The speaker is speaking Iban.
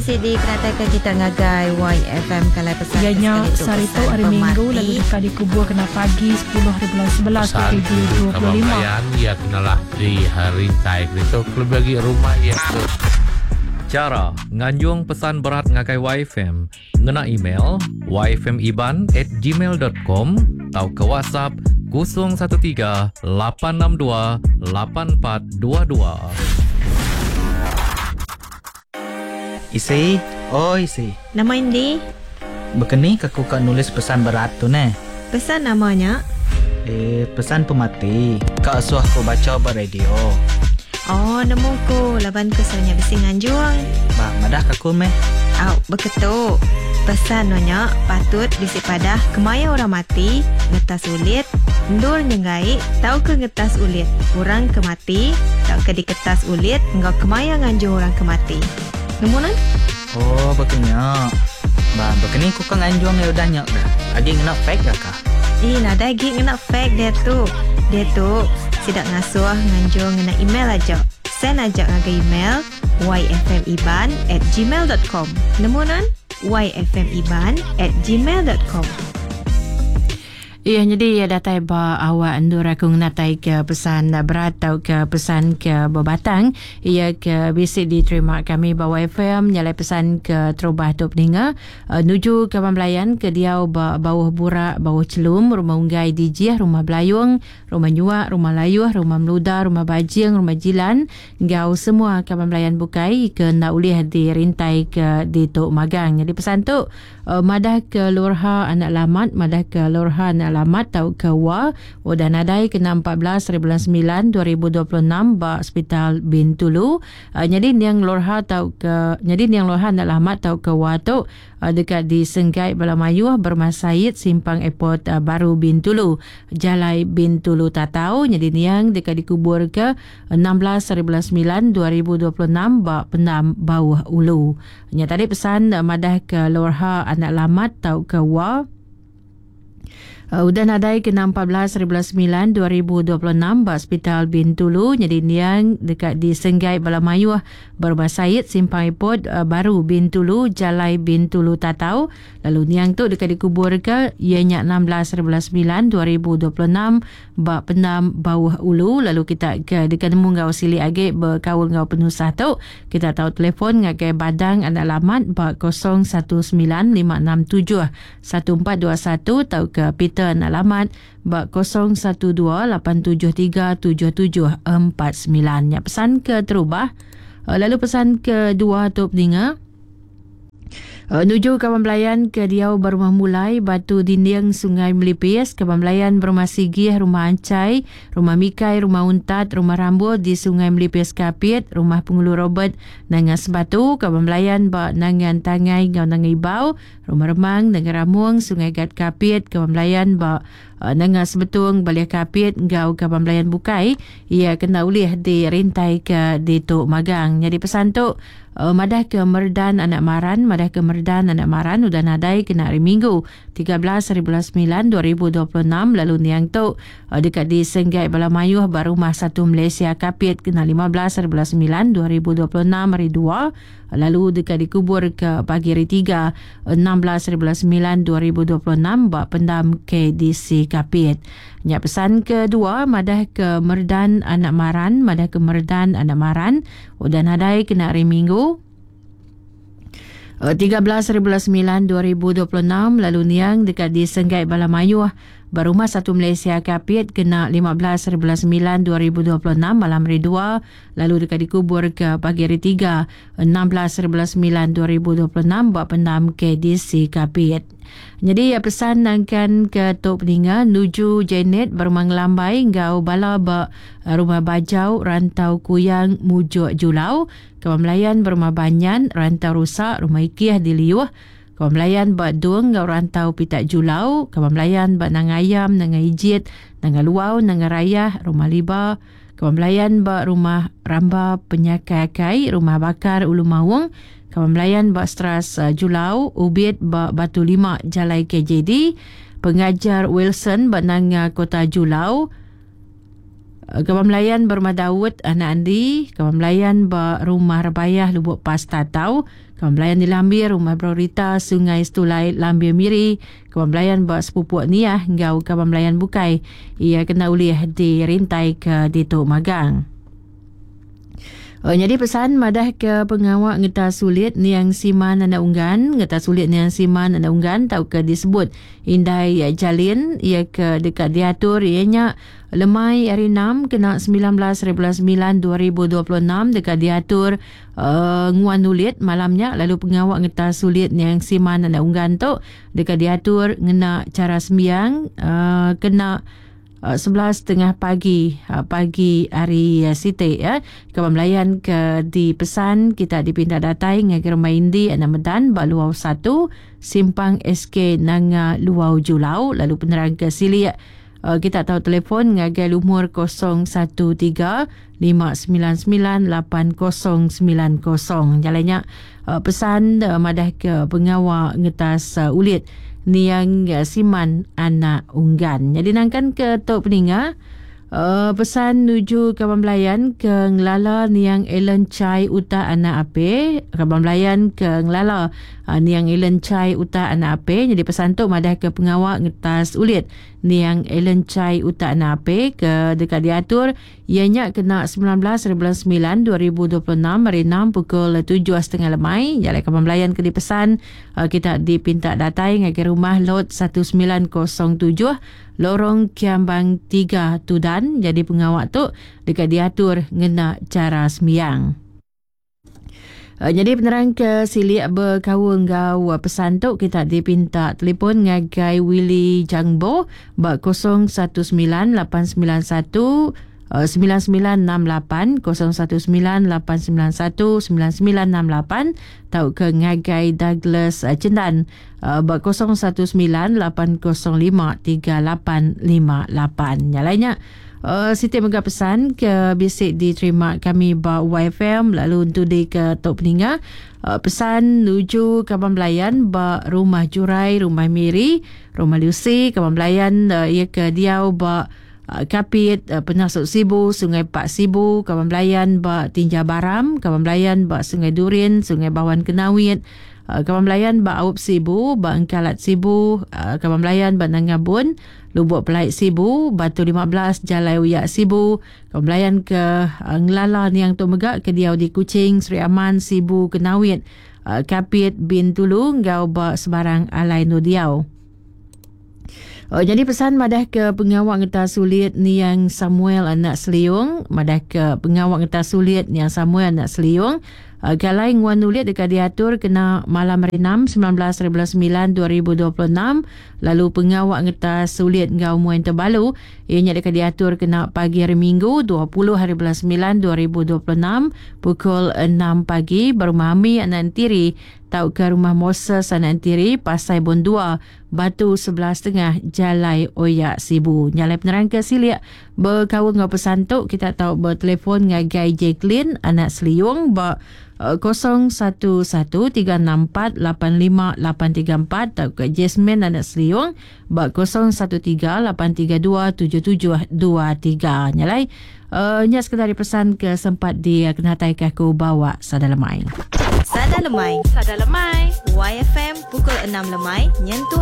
Sidi kenataika kita ngagai YFM kalai pesan Iya ke nya sekali tu sehari tu pesan hari Minggu pemati. lalu deka dikubur kena pagi 10 haribulan 11 Pesan tuju kaban 2025. belayan iya kenalah di rintai ditu kelebih agi rumah iya ke. Chara nganjung pesan berat ngagai YFM ngena email yfmiban@gmail.com tauka WhatsApp 013 862 8422. Isi, oi isi. Nama indi? Bekeni ke ku ka nulis pesan berat tu neh? Pesan nama nya? Eh, pesan pemati. Ka asuh ku bacha ba radio. Oh, nemu ku laban ku selalu nya bisi nganjung. Ba, madah ka ku meh. Au, beketu. Pesan nuan nya patut bisi padah kemaya orang mati, ngetas ulit, endur nyenggai tauka ngetas ulit orang ke mati tauka diketas ulit enggau kemaya nganjung orang ke mati. Nemu nuan? Oh, baka nya. Ba, baka ni ku ka nganjung iya udah nya ga? Agi ngena fax ga kah? Ih, nadai agi ngena fax diatu. Diatu, sida ngasuh nganjung ngena email aja. Send aja ngagai email yfmiban at gmail dot com. Nemu nuan? yfmiban at gmail dot com. Iya nyadi iya datai ba awak endur aku ngenatai ke pesan berat tauka pesan ke bebatang iya ke bisi diterima kami ba YFM nyalai pesan ke terubah tu peninga nuju kaban belayan ke diau ba Bauh Burak, Bauh Chelum, Rumah Unggai Dijih, Rumah Belayung, Rumah Nyuak, Rumah Layuh, Rumah Meluda, Rumah Bajing, Rumah Jilan enggau semua kaban belayan bukai ke enda ulih dirintai ke ditu magang. Nyadi pesan tu Madah ke Lorha anak Lamat, madah ke Lorha anak Lamat tauka Wa udah nadai kena 14 hari bulan 9 2026 ba Sepital Bintulu. Nyadi niang Lorha tauka nyadi niang Lorha anak Lamat tauka Wa tu deka disenggai bala mayuh berumah Said simpang Airport Baru Bintulu, Jalai Bintulu Tatau. Nyadi niang deka dikuburka 16 hari bulan 9 2026 ba Pendam Bauh Ulu. Nya tadi pesan madah ke Lorha anak Lamat tauka Wa udah nadai kena 14 hari bulan 9 2026 ba Sepital Bintulu nyadi niang deka disenggai bala mayuh ba Rumah Said Simpang Airport Baru Bintulu Jalai Bintulu Tatau lalu niang tu deka dikuburka iya nya 16 hari bulan 9 2026 ba Pendam Bauh Ulu lalu kita ke deka nemu enggau silik agi bekaul enggau penusah tu kita tau telefon ngagai Badang Anak Lamat ba 0195671421 tauka Peter Anak Lamat ba 0128737749. Nya pesan ke terubah lalu pesan kedua tu peninga Nuju kaban belayan ke diau ba Rumah Mulai, Batu Dinding, Sungai Melipis, kaban belayan ba Rumah Sigih, Rumah Anchai, Rumah Mikai, Rumah Untat, Rumah Rambul di Sungai Melipis Kapit, Rumah Pengulu Robert, Nanga Sebatu, kaban belayan ba Nangan Tangai enggau Nanga Ibau, Rumah Remang, Nanga Ramung, Sungai Gat Kapit, kaban belayan ba Nanga Sebetung, Balih Kapit enggau kaban belayan bukai iya kena ulih dirintaika ditu magang. Nyadi pesan tu Madah ke Merdan anak Maran, madah ke Merdan anak Maran udah nadai kena hari Minggu, 13 hari bulan 9 2026 lalu niang tu deka disenggai bala mayuh ba Rumah Satu Malaysia Kapit kena 15 hari bulan 9 2026 hari Dua lalu deka dikubur ke pagi hari Tiga, 16 hari bulan 9 2026 ba Pendam KDC Kapit. Nya pesan kedua madah ke Merdan anak Maran, madah ke Merdan anak Maran udah nadai kena hari Minggu 13 hari bulan 9 2026 lalu niang deka disenggai bala mayuh ba Rumah Satu Malaysia Kapit kena 15 hari bulan 9 2026 malam hari Dua lalu deka dikubur ke pagi hari Tiga 16 hari bulan 9 2026 ba Pendam KDC Kapit. Nyadi iya pesan nangkan ke tu peninga nuju Janet ba Rumah Ngelambai enggau bala ba Rumah Bajau Rantau Kuyang Mujuk Julau, Kaban Belayan ba Rumah Banyan Rantau Rusa Rumah Ikih di Liuh, Kaban Belayan ba Dung enggau Rantau Pitak Julau, Kaban Belayan ba Nanga Ayam Nanga Ijit Nanga Luau Nanga Rayah Rumah Liba, Kaban Belayan ba Rumah Ramba Penyakai Akai, Rumah Bakar Ulu Maung, Kaban Belayan ba Stras Julau, Ubit ba Batu Lima Jalai KJD, Pengajar Wilson ba Nanga Kota Julau, Kaban Belayan ba Rumah Daud Anak Andi, Kaban Belayan ba Rumah Rebayah Lubok Pas Tatau, Kaban belayan di Lambir, Rumah Brorita, Sungai Setulai, Lambir Miri, kaban belayan ba Sepupuk Niah enggau kaban belayan bukai iya kena ulih dirintai ke ditu magang. Oh, nyadi pesan madah ke pengawa ngetas ulit niang Siman Anak Unggan, ngetas ulit niang Siman Anak Unggan tauka disebut Indai Jalin iya ke deka diatur iya nya lemai hari 6 kena 19 hari bulan 9 2026 deka diatur uh, nguan ulit malam nya lalu pengawa ngetas ulit niang Siman Anak Unggan tu deka diatur ngena chara sembiang uh, kena 11.30 pagi pagi hari siti ya. Kaban belayan ke dipesan kita dipinta datai ngagai rumah Indi Anak Medan ba Luau 1 Simpang SK Nanga Luau Julau lalu penerang ke silik kita tahu telefon ngagai lumur 013 599 8090. Jalannya pesan madah ke pengawa ngetas ulit niang Siman Anak Unggan. Jadi nangkan ke tok peninga pesan nuju kaban belayan ke ngelala niang Ellen Chai Uta Anak Ape, kaban belayan ke ngelala niang Ellen Chai Uta Anak Ape. Jadi pesan tu madah ke pengawa ngetas ulit niang Ellen Chai Uta Anak Ape ke dekat diatur ianya kena 19 bulan 9 2026 hari 6 pukul 7.30 lemai. Jalai kaban belayan ke dipesan kita dipinta datai ngagai rumah lot 1907 Lorong Kiambang 3 Tudan. Jadi pengawak tu dekat diatur ngena cara sembiang. Jadi penerang ke silik berkaul enggau pesan tu kita dipinta telefon ngagai Willy Jangbo ba 019 891 9968 019 891 9968 tau ke ngagai Douglas Cendan ba 019 805 3858. Nyalainya Siti mega pesan ke bisik diterima kami ba YFM lalu untuk di ke tok peninga pesan nuju kaban belayan ba rumah Jurai, rumah Miri, rumah Lucy, kaban belayan ia ke diau ba Kapit, Penasuk Sibu, Sungai Pak Sibu, kaban belayan ba Tinja Baram, kaban belayan ba Sungai Durin, Sungai Bawan Kenawit, kaban belayan ba Aup Sibu, ba Engkalat Sibu, kaban belayan ba Nangabun, Lubuk Pelait Sibu, Batu 15, Jalai Uyak Sibu, kaban belayan ke Ngelala Niang Tu Mega ke diau di Kuching, Sri Aman, Sibu, Kenawit, Kapit, Bintulu, enggau ba Sebarang Alai Nu Diau. Jadi pesan madah ke pengawak ngetas sulit niang Samuel Anak Seliung, madah ke pengawak ngetas sulit niang Samuel Anak Seliung, galai nguan ulit dekat diatur kena malam hari 6 19 9 2026 lalu pengawak ngetas sulit enggau muan terbalu ianya dekat diatur kena pagi hari Minggu 20 hari bulan 9 2026 pukul 6 pagi berumah Ami Anak Entiri tau ke rumah Moses Anak Entiri Pasai Bon 2 Batu 11.30 Jalai Oyak Sibu. Nyalai penerang ke silik berkaul enggau pesan tu kita tahu bertelefon ngagai Jacqueline Anak Seliung ba 011364858834 atau ke Jasmine Anak Seliung ba 0138327723. Nyalai nya sekedar pesan ke sempat dia kena tai ke aku bawa sada lemai. Sada lemai. Sada lemai. YFM pukul 6 lemai nyentuk